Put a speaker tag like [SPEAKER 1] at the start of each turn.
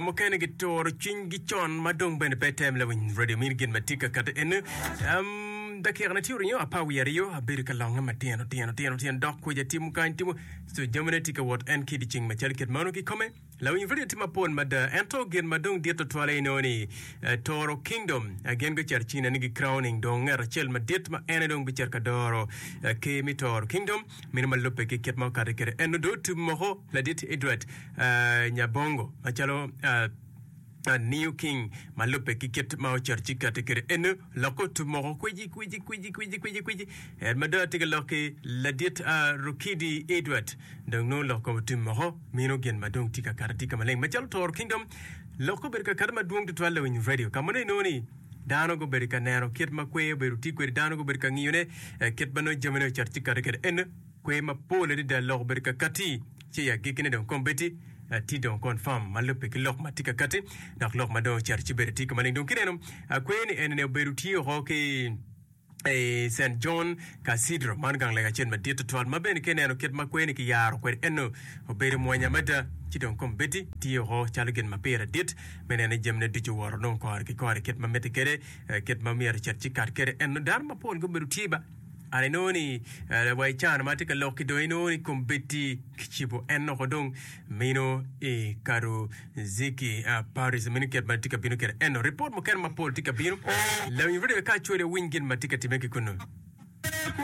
[SPEAKER 1] mukene gituro cwinygi con ma dong bene pe tem lawiny radio mini gin ma tye ka kati eni. Um, dakika na tye oringo apar wiye aryo abedo ka longe matino tino tino tino dok kweja timo kany timo so jamine tye ka wot en ki dyeceng macalo kit mano kikome. Lawiny radio tye mapol mada ento gin ma dong dit tutwal aye inongo ni eh, Toro Kingdom eh, gin gucito cina ni gi crowning dong ngat acel madit ma en aye dong bicito ka doro eh, ker me Toro Kingdom meno ma lubbe ki kit ma okati kwede en dong otum moko ladit Edward eh, Nyabongo macalo eh, New King ma lubbe ki kit ma ocito ci kati kwede eno lokke otum moko kwici kwici kwici kwici kwici kwici en ma dong atye ka lok ki ladit uh, Rukidi Edward dong nongo lok kom otum moko mino gin ma dong tye ka kati tye ka maleng macalo Toro Kingdom lokke obedo ka kati madwong tutwal lawiny radio ka ma nongo inongo ni dano gubedo ka neno kit ma kwer obedo tye kwede dano gubedo ka ngiyone eh, kit ma nongo jamine ocito ci kati kwede eno Kwer mapol adada lok obedo ka katti, ci i agikkine dong kombeddi tye dong confirm ma lubbe ki lok ma tye ka katti dok lok ma dong ocito ci bedo tye ka maleng. Dong kineno kwer ni eni obedo tye oko ki i Saint John Cathedral, man gang lega acel madit tutwal ma bene ka ineno kit ma kwer ni kiyaro kwede eno obedo mwonya mada. Ci dong kombeddi tye oko calo gin ma pire dit me neno ni jamine ducu owoto dong kore ki kore kit ma mitte kwede, kit ma myero ocit ci kat kwede eno dano mapol gubedo tye ba. An inongo ni wa i cana ma atye ka lok ki dong inongo ni kombeddi kicibo en oko dong mino i Karuziki Paris meno kit ma tye ka bino kwede eno ripot mukene mapol tye ka bino lawiny radio ka acwali awiny gin ma tye ka time ki kunu.